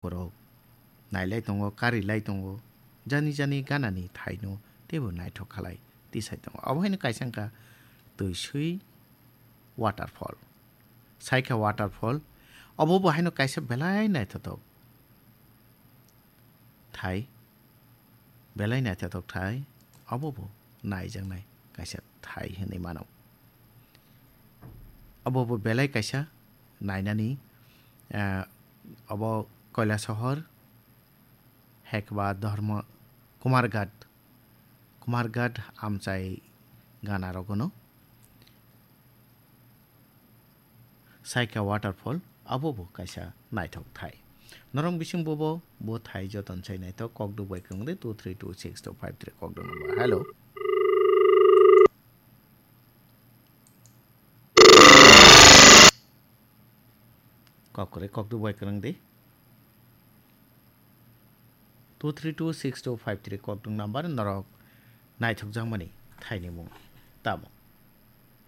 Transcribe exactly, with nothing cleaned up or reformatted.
borok nailai tongo, karilai tongo, jani jani ganani thaino teibo naithok khalai tisai tongo. Obo haino kaisa wngkha twi swi waterfall. Saikha waterfall, obo bo haino kaisa belai naithothok thai, belai naithothok thai, obo bo naijaknai kaisa thai hinwi mano. Obo bo belai kaisa nainani, ah, obo Kailasohor, Hekba, Dharma, Kumarghat, Kumarghat amchai gana rogono. Saikha waterfall, abo bo kaisa naithok thai. Norok bising bobo bo thai joton sai naithok, kokduk bai kwrwng de two three two six two five three kokduk number. Hello. Kok kwrwi kokduk bai kwrwng di. Two three two six two five three kokduk number norok naithokjakmani thaini mung tamo.